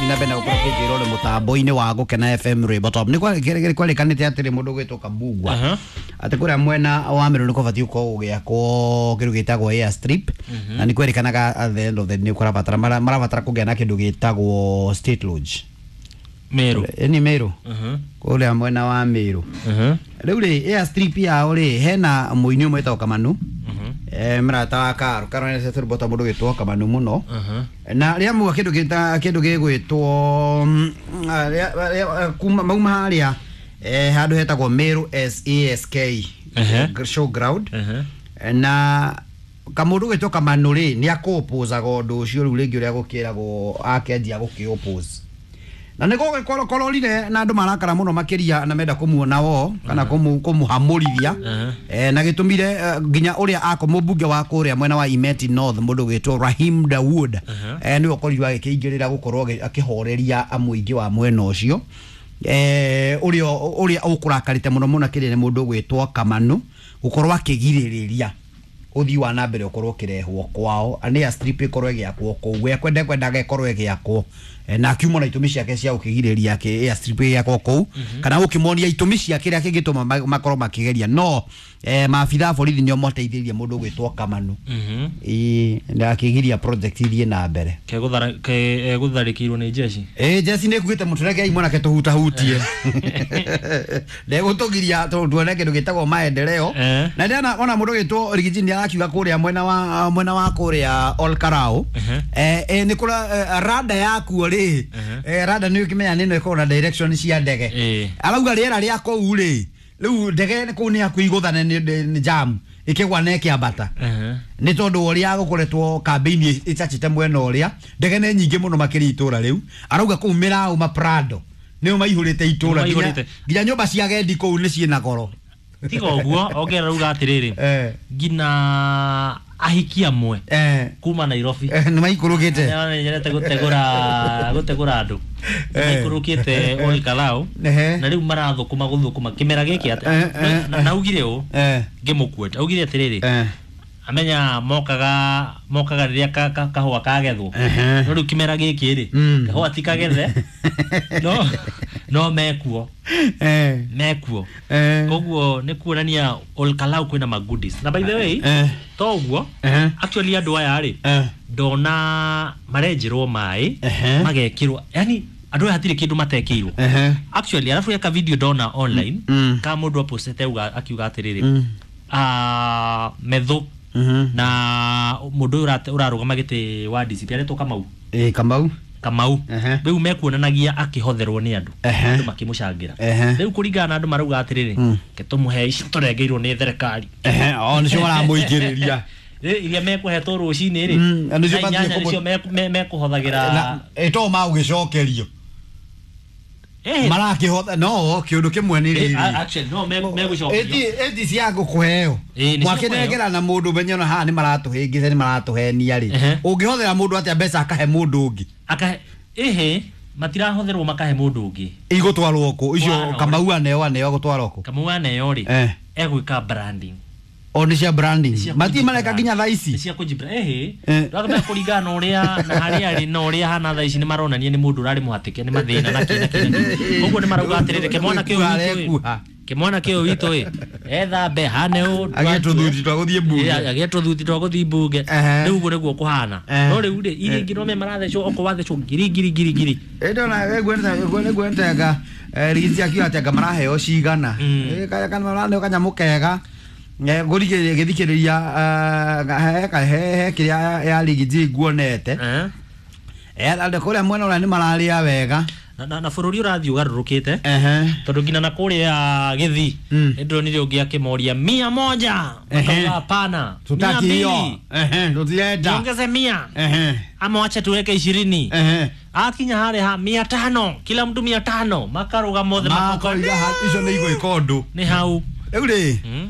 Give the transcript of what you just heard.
Tũrathiĩ na mbere na gũkorwo kĩnjĩrwo nĩ mũtambo-inĩ wa Gũkena FM Rwĩmbo Top. Nĩ kwarĩkanĩte atĩrĩ mũndũ ũgwĩtwo Kabugwa atĩ kũrĩa mwena wa Meru nĩ kũbatiĩ gũkorwo gũgĩakwo kĩndũ gĩtagwo airstrip, na nĩ kwerĩkanaga at the end of the day nĩ kũrabatara marabatara kũgĩa na kĩndũ gĩtagwo state lodge. Meru. Ĩ, nĩ Meru, kũrĩa mwena wa Meru. Rĩu rĩ, airstrip yao rĩ, hena mũini ũmwe wĩtagwo Kamanu, mrata wa Karo. Karo nĩ tũrũmbo twa mũndũ gwĩtwo Kamanu mũno, na rĩa muga kĩndũ gĩta kĩndũ gĩgwĩtwo kuma mauma harĩa handũ hetagwo Meru SASK showground, na kamũndũ gwĩtwo Kamanu rĩ, nĩ akũpũzaga ũndũ ũcio. Rĩu rĩngĩ ũrĩa gũkĩragwo akĩanjia gũkĩũpũza na nĩ gũgĩkororire na andũ marakara mũno makĩria na menda kũmuona wo kana kũmũhamũrithia, na gĩtũmire nginya ũrĩa ako mũmbunge wa kũrĩa mwena wa Imeti North, mũndũ gwĩtwo Rahim Dawood, nĩwe ũkorirwo agĩkĩingĩrĩra gũkorwo akĩhoreria mũingĩ wa mwena ũcio, ũrĩa ũkũrakarĩte mũno mũno kĩrĩa nĩ mũndũ gwĩtwo Kamanu gũkorwo akĩgirĩrĩria ũthii wa na mbere ũkorwo ũkĩrehwo kwao, nĩ airstrip ĩkorwo ĩgĩakwo kũu we kwenda kwendaga ĩkorwo ĩgĩakwo. Na akiuma na itũmi ciake cia gũkĩgirĩrĩria airstrip ĩgĩakwo kũu, kana gũkĩmonia itũmi cia kĩrĩa kĩngĩtũma makorwo makĩgeria, no maabitha a borithi nĩo mateithĩrĩirie mũndũ gwĩtwo Kamanu. Ĩĩ, na akĩgiria project ithiĩ na mbere. Egũtharĩkĩirwo nĩ jeshi. Ĩ, jeci nĩ kuĩte mũtũrekei mwanake tũhutahutie, ndegũtũgiria tuone kĩndũ gĩtagwo maendeleo. Na ndĩrona ona mũndũ gĩtwo Rigiji nĩ arakiuga kũrĩa mwena wa kũrĩa Olkarau, nĩ kũra rada yakuo rĩ, rada nĩ ũkĩmenya nĩ ĩno ĩkoragwo na direction cia ndege. Arauga rĩera rĩa kũu rĩ, rĩu ndege kũu nĩ hakuhĩ igũthane nĩ jam ĩkĩgwa na ĩkĩambata, nĩ tondũ ũrĩa gũkoretwo kambĩini ĩcacĩte mwena ũrĩa ndege nĩ nyingĩ mũno makĩria itũra rĩu. Arauga kũu mĩraũ maprado nĩo maihũrĩte itũra nginya Maihũrĩte. Nginya nyũmba cia agendi kũu nĩ ciĩna goro. Tiga ũguo, ongerera uga atĩrĩrĩ, nginya ahiki amwe kuma Nairobi nĩ maikũrũkĩte. Nĩmenyerete gũtegũra andũ, maikũrũkĩte Ol Kalou, na rĩu marathũkũma gũthũkũma kĩmera gĩkĩ atĩ na augire ũũ, ngĩmũkueta augire atĩrĩrĩ, amenya mokaga rĩrĩa kahũa kagethwo, no rĩu kĩmera gĩkĩ rĩ, kahũa ti kagethe, no mekuo, mekuo. Koguo nĩ kuonania Ol Kalou kwĩna ma goodies. Na by the way, to ũguo, actually andũ aya rĩ, ndona marenjerwo maĩ, magekĩrwo, yani andũ aya hatirĩ kĩndũ matekĩirwo actually. Arabu eka video ndona online ka mũndũ apostete auga akiuga atĩrĩrĩ, metho na mũndũ ũyũ ũrarũgama gĩtĩ wa DCP aretwo Kamau. Ĩ, Kamau. Kamau. Rĩu mekuonanagia akĩhotherwo nĩ andũ, andũ makĩmũcangĩra. Rĩu kũringana na andũ marauga atĩrĩrĩ, ke tũmũhe ici tũrengeirwo nĩ thirikari. Ehe, o nĩcio maramũingĩrĩria. Rĩ, iria mekũhetwo rũcinĩ rĩ, Na nĩcio thaa batiĩ 8 nĩcio mekũhothagĩra. Na ĩto magũgĩcokerio marakĩhotha no kĩũndũ kĩmwe nĩ rĩrĩ. Actually no megũcokerio. Ĩti cia gũkũheo Ĩ, nĩ cia mwakĩnengera na mũndũ menye ona haha nĩ maratũhĩngĩca, nĩ maratũhenia rĩ. Ũngĩhothera mũndũ atĩa mbeca akahe mũndũ ũngĩ? Akahe ĩhĩ, matirahotherwo makahe mũndũ ũngĩ. Igũtwarwo kũ icio? Twarwo. Kamau aneo gũtwarwo kũ? Kamau aneo rĩ, egwĩka branding. O nĩ cia branding. Cia matirĩ mareka kũji-brand. Nginya thaa Nĩ ici. cia kũjibra ĩhĩ. Ndũramenya kũringana na ũrĩa na harĩa arĩ na ũrĩa hana thaa ici, nĩ maronania nĩ mũndũ ũrarĩ mũhatĩke nĩ mathĩna na kĩ na kĩ na kĩ. Koguo nĩ marauga atĩrĩrĩ, kĩmwana kĩu Nĩkuha witũ ĩ, arekuha. kĩmwana kĩu witũ ĩ, ethambe hane ũũ. Agĩe tũthuti twa gũthiĩ mbunge. Agĩe tũthuti twa gũthiĩ mbunge. Rĩu ũguo nĩguo kũhana. No rĩu rĩ, iria ingĩ no me marathecwo, okorwo wathecwo ngiri ngiri ngiri ngiri. Ndona gwentega rigiti akiuga atĩ anga maraheo cigana. Kana maraneo kanyamũ kega ngũrigĩrĩria gĩthikĩrĩria he kĩrĩa ya rigiti nguonete. Andũ kũrĩa mwena ũrĩa nĩ mararĩa wega. Na bũrũri ũrathiĩ ũgarũrũkĩte, tondũ nginya na kũrĩa gĩthii, nĩ ndĩronire ũngĩ akĩmoria 100, makauga hapana, mia Tutaki hiyo. mbili Tũtirenda. Niongeze 100 ama wacha tuweke 20. Akinya harĩa ha 500, kila mtu 500, makarũga mothe makoka. Makoiga icio nĩ igwĩka ũndũ. Nĩ hau. Rĩu rĩ.